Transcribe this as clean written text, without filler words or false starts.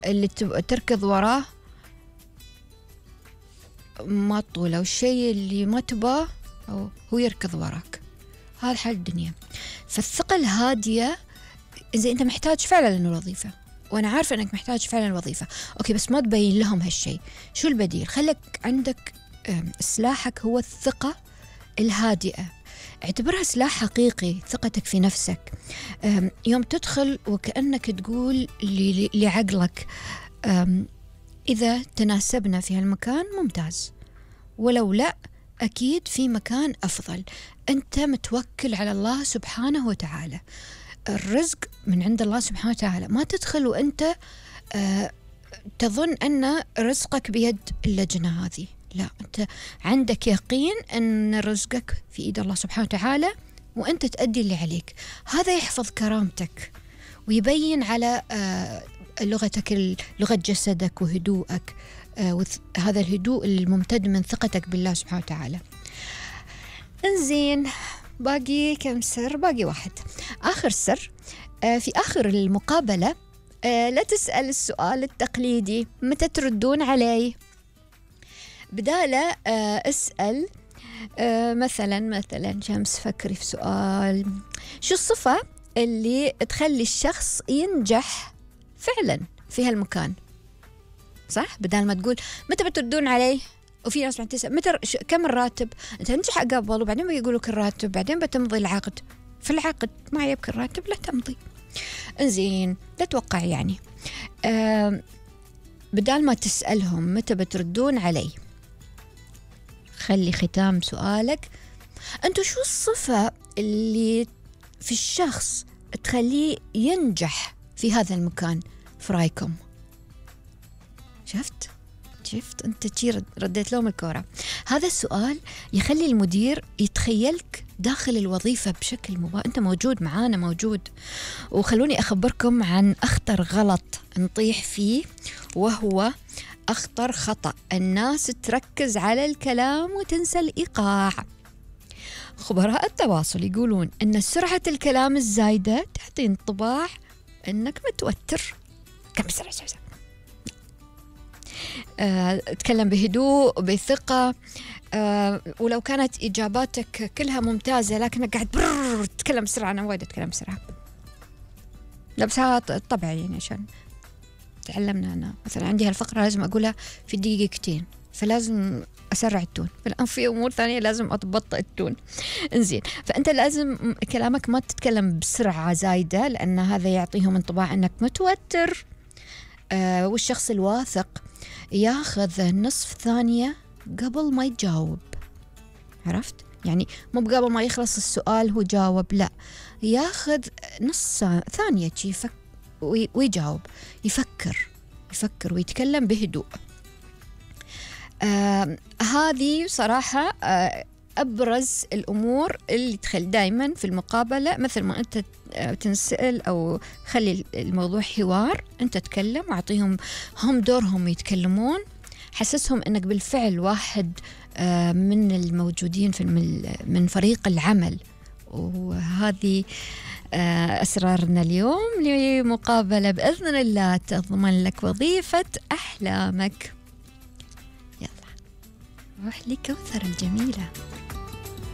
اللي تركض وراه ما تطوله، والشيء اللي ما تباه هو يركض وراك. هذا حال الدنيا. فالثقة الهادية إذا أنت محتاج فعلا للوظيفة، وأنا عارفة أنك محتاج فعلا الوظيفة، أوكي، بس ما تبين لهم هالشيء. شو البديل؟ خلك عندك سلاحك هو الثقة الهادئة. اعتبرها سلاح حقيقي، ثقتك في نفسك. يوم تدخل وكأنك تقول لعقلك إذا تناسبنا في هالمكان ممتاز، ولو لا أكيد في مكان أفضل. أنت متوكل على الله سبحانه وتعالى، الرزق من عند الله سبحانه وتعالى. ما تدخل وأنت تظن أن رزقك بيد اللجنة هذه، لا، أنت عندك يقين أن رزقك في إيد الله سبحانه وتعالى، وأنت تأدي اللي عليك. هذا يحفظ كرامتك ويبين على لغتك، لغة جسدك وهدوءك، هذا الهدوء الممتد من ثقتك بالله سبحانه وتعالى. انزين، باقي كم سر؟ باقي واحد، آخر سر. في آخر المقابلة لا تسأل السؤال التقليدي متى تردون علي، بداله اسأل مثلا شمس، فكري في سؤال، شو الصفة اللي تخلي الشخص ينجح فعلا في هالمكان، صح؟ بدال ما تقول متى بتردون علي، وفي ناس تسأل متى كم الراتب، انت تنجح قبل وبعدين بيقولوا لك الراتب، بعدين بتمضي العقد، في العقد ما يبكي الراتب لا تمضي. انزين، لا توقع يعني. بدال ما تسألهم متى بتردون علي، خلي ختام سؤالك أنتوا شو الصفة اللي في الشخص تخليه ينجح في هذا المكان في رأيكم؟ شفت أنت رديت لهم الكورة. هذا السؤال يخلي المدير يتخيلك داخل الوظيفة بشكل أنت موجود معانا، موجود. وخلوني أخبركم عن أخطر غلط نطيح فيه، وهو أخطر خطأ. الناس تركز على الكلام وتنسى الإيقاع. خبراء التواصل يقولون أن سرعة الكلام الزايدة تعطي انطباع أنك متوتر. كم بسرعة تكلم بهدوء بثقة، ولو كانت إجاباتك كلها ممتازة لكنك قاعد تتكلم بسرعة. أنا وايد أتكلم بسرعة، لا بس هذا طبعا يعني عشان تعلمنا. أنا مثلا عندي هالفقرة لازم أقولها في دقيقتين، فلازم أسرع التون. الآن في أمور ثانية لازم أبطئ التون. إنزين، فأنت لازم كلامك ما تتكلم بسرعة زايدة، لأن هذا يعطيهم انطباع أنك متوتر. والشخص الواثق ياخذ نصف ثانية قبل ما يجاوب. عرفت؟ يعني مو قبل ما يخلص السؤال هو جاوب، لا، ياخذ نص ثانية ويجاوب، يفكر ويتكلم بهدوء. هذه صراحة أبرز الأمور اللي تخل دايما في المقابلة. مثل ما أنت تنسأل أو خلي الموضوع حوار، أنت تتكلم وأعطيهم هم دورهم يتكلمون، حسسهم أنك بالفعل واحد من الموجودين من فريق العمل. وهذه أسرارنا اليوم لمقابلة بإذن الله تضمن لك وظيفة أحلامك. يلا روح لكوثر الجميلة.